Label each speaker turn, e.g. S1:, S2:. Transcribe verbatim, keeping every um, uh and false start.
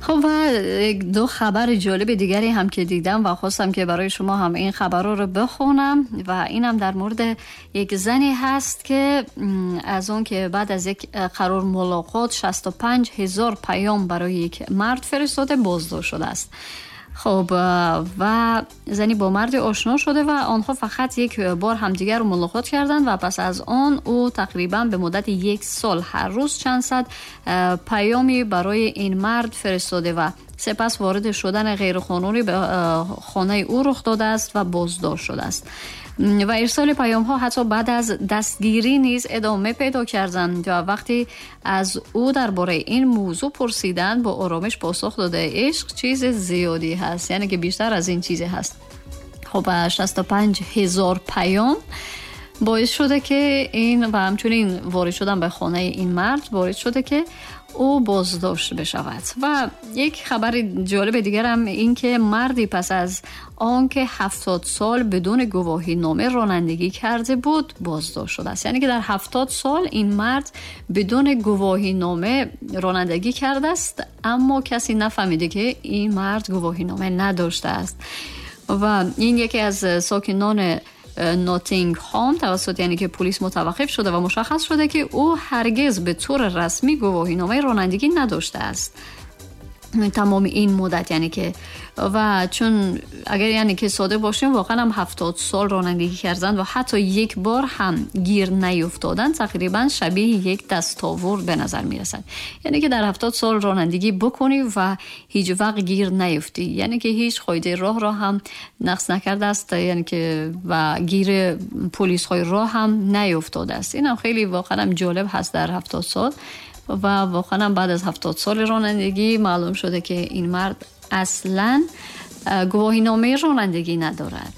S1: خب و دو خبر جالب دیگری هم که دیدم و خواستم که برای شما هم این خبرها رو بخونم و اینم در مورد یک زنی هست که از اون که بعد از یک قرار ملاقات شصت و پنج هزار پیام برای یک مرد فرستاده بازداشت شده است. خب و زنی با مرد آشنا شده و آنها فقط یک بار همدیگر رو ملاقات کردند و پس از آن او تقریبا به مدت یک سال هر روز چند صد پیامی برای این مرد فرستاده و سپس وارد شدن غیرقانونی به خانه او رخ داده است و بازداشت شده است. و ارسال پیام ها حتی بعد از دستگیری نیز ادامه پیدا کردند و وقتی از او درباره این موضوع پرسیدند با آرامش پاسخ داده عشق چیز زیادی هست، یعنی که بیشتر از این چیزی هست. خب شصت و پنج هزار پیام باعث شده که این و همچنین وارد شدن به خانه این مرد وارد شده که او بازداشت بشود. و یک خبر جالب دیگر هم این که مردی پس از آنکه هفتاد سال بدون گواهی نامه رانندگی کرده بود بازداشت شده است. یعنی که در هفتاد سال این مرد بدون گواهی نامه رانندگی کرده است، اما کسی نفهمیده که این مرد گواهی نامه نداشته است. و این یکی از ساکنان ناتینگهام توسط یعنی که پلیس متوقف شده و مشخص شده که او هرگز به طور رسمی گواهینامه رانندگی نداشته است تمام این مدت. یعنی که و چون اگر یعنی که ساده باشیم واقعا هم هفتاد سال رانندگی کردن و حتی یک بار هم گیر نیفتادن تقریبا شبیه یک دستاورد به نظر میرسد. یعنی که در هفتاد سال رانندگی بکنی و هیچ وقت گیر نیفتی، یعنی که هیچ قاعده راه را هم نقض نکرده است، یعنی که و گیر پلیس های راه هم نیفتاده است. این هم خیلی واقعا هم جالب هست در هفتاد سال و واقعا بعد از هفتاد سال رانندگی معلوم شده که این مرد اصلاً گواهینامه رانندگی ندارد.